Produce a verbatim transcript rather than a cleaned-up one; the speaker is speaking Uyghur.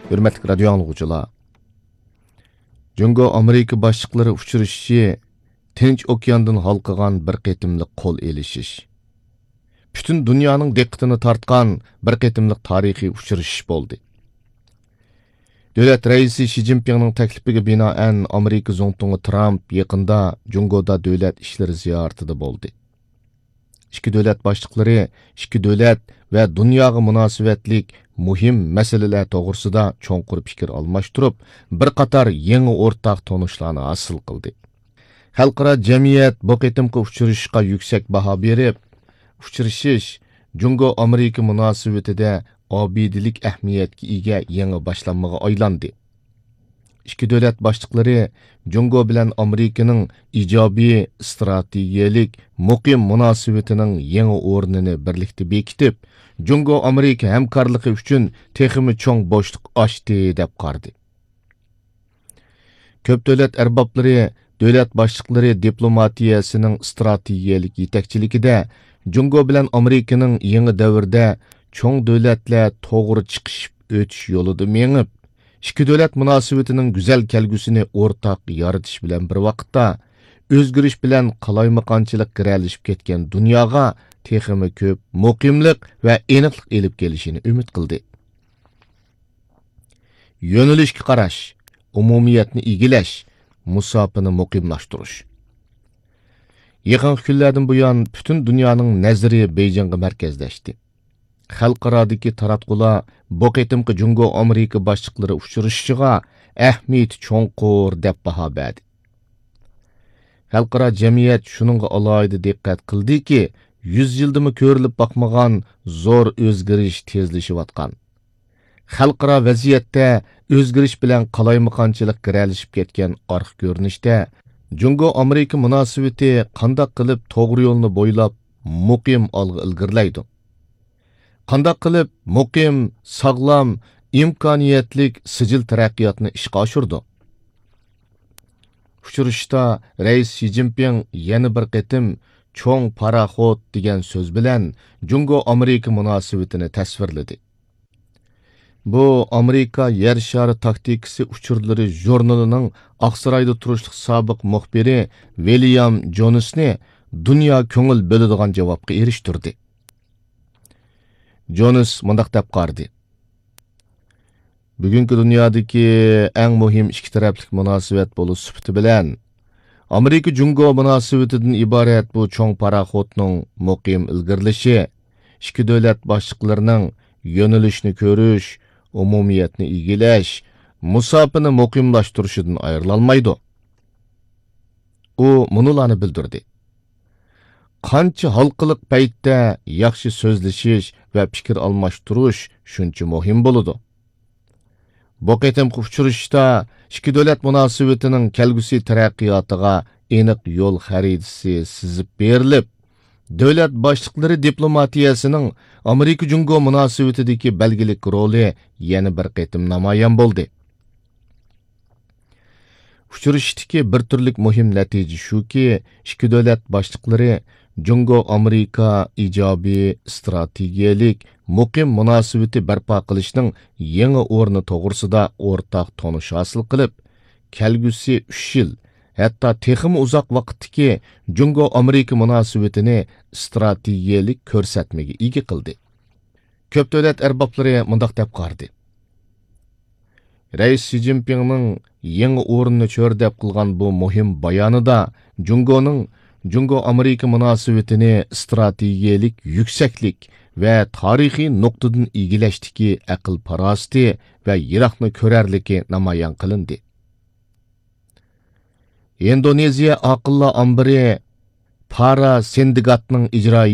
ھۆرمەتلىك رادىيو ئاڭلىغۇچىلار! جۇڭگو ئامېرىكا باشلىقلىرى ئۇچرىشىشى تىنچ ئوكياندىن ھالقىغان بىر قېتىملىق قول ئېلىشىش، پۈتۈن دۇنيانىڭ دىققىتىنى تارتقان بىر قېتىملىق تارىخىي ئۇچرىشىش بولدى. دۆلەت رەئىسى شى جىنپىڭنىڭ تەكلىپىگە بىنائەن، ئامېرىكا زۇڭتۇڭى ترامپ يېقىندا جۇڭگودا دۆلەت ئىشلىرى زىيارىتىدە بولدى. ئىككى دۆلەت باشلىقلىرى ئىككى دۆلەت ۋە دۇنياغا مۇناسىۋەتلىك مۇھىم مەسىلىلەر توغرىسىدا چوڭقۇر پىكىر ئالماشتۇرۇپ، بىر قاتار يېڭى ئورتاق تونۇشلارنى ھاسىل قىلدى. خەلقئارا جەمئىيەت بۇ قېتىمقى ئۇچرىشىشقا يۈكسەك باھا بېرىپ، ئۇچرىشىش جۇڭگو ئامېرىكا مۇناسىۋىتىدە ئابىدىلىك ئەھمىيەتكە ئىگە يېڭى باشلانمىغا ئايلاندى. ئىككى دۆلەت باشلىقلىرى جۇڭگو بىلەن ئامېرىكىنىڭ ئىجابىي ئىستراتېگىيەلىك مۇقىم مۇناسىۋىتىنىڭ يېڭى ئورنىنى بىرلىكتە بېكىتىپ، جۇڭگو ئامېرىكا ھەمكارلىقى ئۈچۈن تېخىمۇ چوڭ بوشلۇق ئاچتى، دەپ قارىدى. كۆپ دۆلەت ئەربابلىرى، دۆلەت باشلىقلىرى دىپلوماتىيەسىنىڭ ئىستراتېگىيەلىك يېتەكچىلىكىدە جۇڭگو بىلەن ئامېرىكىنىڭ يېڭى دەۋردە چوڭ دۆلەتلەر توغرا چىقىشىپ ئۆتۈش يولىدا مېڭىپ، ئىككى دۆلەت مۇناسىۋىتىنىڭ گۈزەل كەلگۈسىنى ئورتاق يارىتىش بىلەن بىر ۋاقىتتا، ئۆزگىرىش بىلەن قالايمىقانچىلىق گىرەلىشىپ كەتكەن دۇنياغا تېخىمۇ كۆپ مۇقىملىق ۋە ئېنىقلىق ئېلىپ كېلىشىنى ئۈمىد قىلدى. يۆنىلىشكە قاراش، ئومۇمىيەتنى ئىگىلەش، مۇساپىنى مۇقىملاشتۇرۇش. يېقىنقى كۈنلەردىن بۇيان پۈتۈن دۇنيانىڭ نەزىرى بېيجىڭغا مەركەزلەشتى. خەلقئارادىكى تاراتقۇلار بۇ قېتىمقى جۇڭگو ئامېرىكا باشلىقلىرى ئۇچرىشىشىغا ئەھمىيىتى چوڭقۇر دەپ باھا بەردى. خەلقئارا جەمئىيەت شۇنىڭغا ئالاھىدە دىققەت قىلدىكى، يۈز يىلدىمۇ كۆرۈلۈپ باقمىغان زور ئۆزگىرىش تېزلىشىۋاتقان. خەلقئارا ۋەزىيەتتە ئۆزگىرىش بىلەن قالايمىقانچىلىق گىرەلىشىپ كەتكەن ئارقا كۆرۈنۈشتە، جۇڭگو ئامېرىكا مۇناسىۋىتى قانداق قىلىپ توغرا يولنى بويلاپ، مۇقىم ئالغا ئىلگىرىلەيدۇ؟ قانداق قىلىپ مۇقىم، ساغلام، ئىمكانىيەتلىك سىجىل تەرەققىياتنى ئىشقا ئاشۇرىدۇ؟ ئۇچرىشىشتا رەئىس شى جىنپىڭ يەنە بىر قېتىم چوڭ پاراخوت دېگەن سۆز بىلەن جۇڭگو ئامېرىكا مۇناسىۋىتىنى تەسۋىرلىدى. بۇ ئامېرىكا يەر شارى تاكتىكىسى ئۇچۇرلىرى ژۇرنىلىنىڭ ئاقسارايدا تۇرۇشلۇق سابىق مۇخبىرى ۋىليام جونسنى دۇنيا كۆڭۈل بۆلىدىغان جاۋابقا ئېرىشتۈردى. جونس مۇنداق دەپ قارىدى: بۈگۈنكى دۇنيادىكى ئەڭ مۇھىم ئىككى تەرەپلىك مۇناسىۋەت بولۇش سۈپىتى بىلەن، ئامېرىكا جۇڭگو مۇناسىۋىتىدىن ئىبارەت بۇ چوڭ پاراخوتنىڭ مۇقىم ئىلگىرىلىشى ئىككى دۆلەت باشلىقلىرىنىڭ يۆنىلىشنى كۆرۈش، ئومۇمىيەتنى ئىگىلەش، مۇساپىنى مۇقىملاشتۇرۇشىدىن ئايرىلالمايدۇ. ئۇ مۇنۇلارنى بىلدۈردى: قانچە ھالقىلىق پەيتتە ياخشى سۆزلىشىش ۋە پىكىر ئالماشتۇرۇش شۇنچە مۇھىم بولىدۇ. بۇ قېتىمقى ئۇچرىشىشتا ئىككى دۆلەت مۇناسىۋىتىنىڭ كەلگۈسى تەرەققىياتىغا ئېنىق يول خەرىتىسى سىزىپ بېرىلىپ، دۆلەت باشلىقلىرى دىپلوماتىيەسىنىڭ ئامېرىكا جۇڭگو مۇناسىۋىتىدىكى بەلگىلىك رولى يەنە بىر قېتىم نامايان بولدى. ئۇچرىشىشتىكى بىر تۈرلۈك مۇھىم نەتىجە شۇكى، ئىككى دۆلەت باشلىقلىرى جۇڭگو ئامېرىكا ئىجابىي ئىستراتېگىيەلىك مۇقىم مۇناسىۋىتى بەرپا قىلىشنىڭ يېڭى ئورنى توغرىسىدا ئورتاق تونۇش ھاسىل قىلىپ، كەلگۈسى ئۈچ يىل، ھەتتا تېخىمۇ ئۇزاق ۋاقىتتىكى جۇڭگو ئامېرىكا مۇناسىۋىتىنى ئىستراتېگىيەلىك كۆرسەتمىگە ئىگە قىلدى. كۆپ دۆلەت ئەربابلىرى مۇنداق دەپ قارىدى: رەئىس شى جىنپىڭنىڭ يېڭى ئورۇننى چۆرىدەپ قىلغان بۇ مۇھىم بايانىدا جۇڭگونىڭ جۇڭگو ئامېرىكا مۇناسىۋىتىنى ئىستراتېگىيەلىك يۈكسەكلىك ۋە تارىخىي نۇقتىدىن ئىگىلەشتىكى ئەقىل پاراسىتى ۋە يىراقنى كۆرەرلىكى نامايان قىلىندى. ئىندونېزىيە ئاقىللار ئامبىرى پارا سىندىگاتنىڭ ئىجرائىي